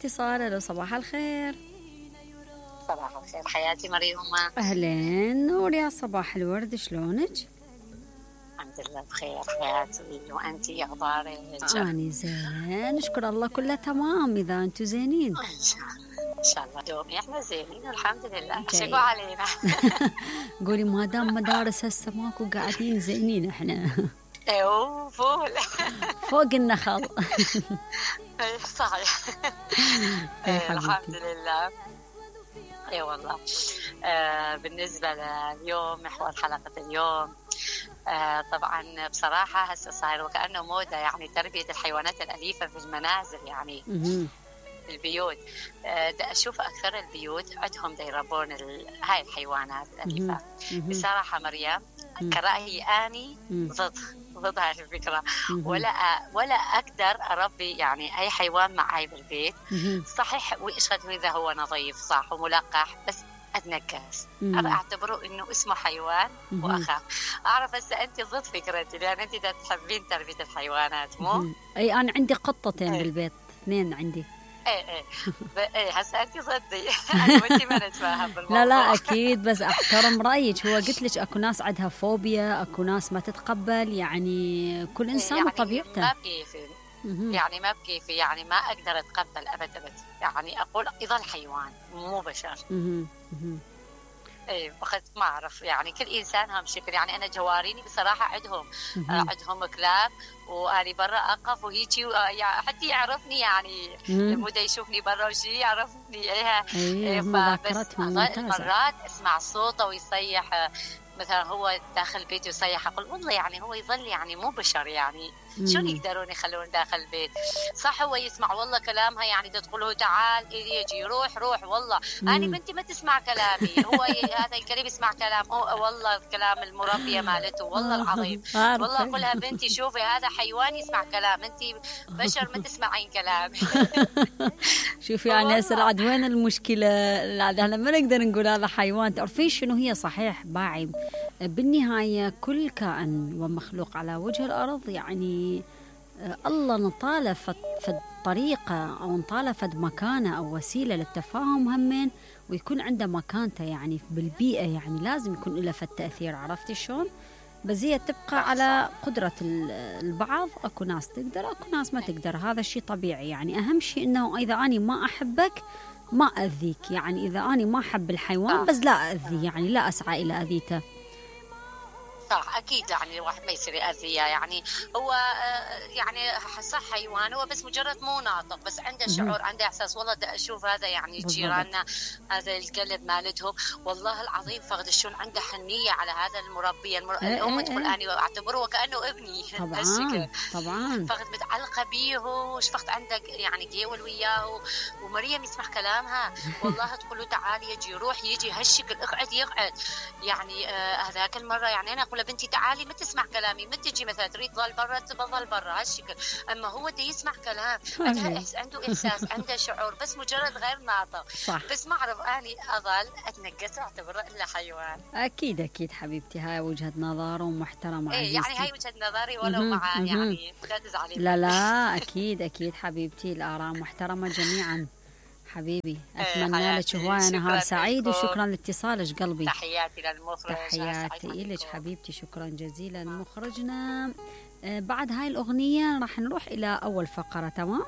الاتصال. الو صباح الخير. صباح الخير حياتي مريومة. اهلين نور يا صباح الورد، شلونك؟ الحمد لله بخير حياتي، وانتي اخبارك؟ اني زين نشكر الله، كله تمام. اذا انتم زينين ان شاء الله دومي احنا زينين الحمد لله. شكوا علينا. قولي ما دام مدارس هسه ماكو قاعدين زينين احنا. ايوه فول فوق النخل. صحيح. الحمد لله. اي والله. بالنسبه لليوم محور حلقه اليوم، طبعا بصراحه هسه صاير وكانه موضه، يعني تربيه الحيوانات الاليفه في المنازل، يعني البيوت. دا اشوف اكثر البيوت عندهم دا يربون هاي الحيوانات الاليفه. بصراحه مريم كرأيي اني ضد هاي الفكره. ولا اقدر اربي يعني اي حيوان معي بالبيت. صحيح واشهد اذا هو نظيف صح وملقح، بس اتنكس. اعتبره انه اسمه حيوان واخاف. اعرف هسه انت ضد فكرتي، لان انت تحبين تربيه الحيوانات مو؟ اي انا عندي قطتين بالبيت، اثنين عندي. ايه هسه انت ضدي. انا وانت ما نتفاهم بالموضوع. لا اكيد، بس احترم رايك. هو قلت لك اكو ناس عندها فوبيا، اكو ناس ما تتقبل، يعني كل انسان يعني وطبيعته. ما بكيفي يعني ما بكيفي، يعني ما اقدر اتقبل ابدا. يعني اقول يظل حيوان مو بشر. ايه وقت ما اعرف، يعني كل انسان هم شكل. يعني انا جواريني بصراحه عندهم كلاب، واني برا اقف وهيجي حتى يعرفني، يعني مدة يشوفني برا وشي يعرفني. بس مرات اسمع صوته ويصيح، مثلا هو داخل البيت يصيح، اقول والله يعني هو يظل يعني مو بشر، يعني شلون يقدرون يخلون داخل البيت؟ صح هو يسمع والله كلامها، يعني تقول تعال يجي روح والله انا بنتي ما تسمع كلامي. هو هذا الكلب يسمع كلام والله كلام المربيه مالته والله العظيم. والله اقول لها بنتي شوفي هذا حيوان يسمع كلام، انتي بشر ما تسمعين كلامي. شوفي يعني هسه عاد وين المشكله؟ احنا ما نقدر نقول هذا حيوان. تعرفين شنو هي؟ صحيح باعي بالنهايه كل كائن ومخلوق على وجه الارض، يعني الله نطاله فد طريقه او نطاله فد مكانه او وسيله للتفاهم همين، ويكون عنده مكانته يعني بالبيئه، يعني لازم يكون له فد تاثير. عرفتي شلون؟ بس هي تبقى على قدرة البعض. أكو ناس تقدر، أكو ناس ما تقدر. هذا الشيء طبيعي. يعني أهم شيء أنه إذا أنا ما أحبك ما أذيك. يعني إذا أنا ما أحب الحيوان بس لا أذي، يعني لا أسعى إلى أذيته. صح اكيد، يعني الواحد ما يصير يأذيه. يعني هو يعني صح حيوان، هو بس مجرد مو ناطق، بس عنده شعور، عنده احساس. والله اشوف هذا يعني جيراننا هذا الكلب مالتهم والله العظيم فقد شلون عنده حنيه على هذا المربيه. الام تقول انا اعتبره وكانه ابني. طبعا فقد متعلقه بيه، وشفقت عنده يعني جيول وياه، ومريم يسمع كلامها والله تقول له تعال يجي روح يجي هالشكل يقعد. يعني هذاك المره يعني انا اقول بنتي تعالي ما تسمع كلامي، ما تجي مثلا تريد تظل برا تظل برا هالشكل. اما هو دا يسمع كلام، عنده احساس، عنده شعور، بس مجرد غير ناطق. صح. بس ما اعرف اني اظل اتنقص اعتبره الا حيوان. اكيد حبيبتي، هاي وجهة نظر ومحترمه عزيزتي. يعني هاي وجهة نظري، ولو مع يعني لا تزعلي. لا اكيد حبيبتي، الاراء محترمه جميعا حبيبي. اتمنى لك هوايه نهار سعيد، وشكرا لاتصالك قلبي. تحياتي للمخرج. تحياتي لك حبيبتي، شكرا جزيلا مخرجنا. بعد هاي الاغنيه راح نروح الى اول فقره. تمام.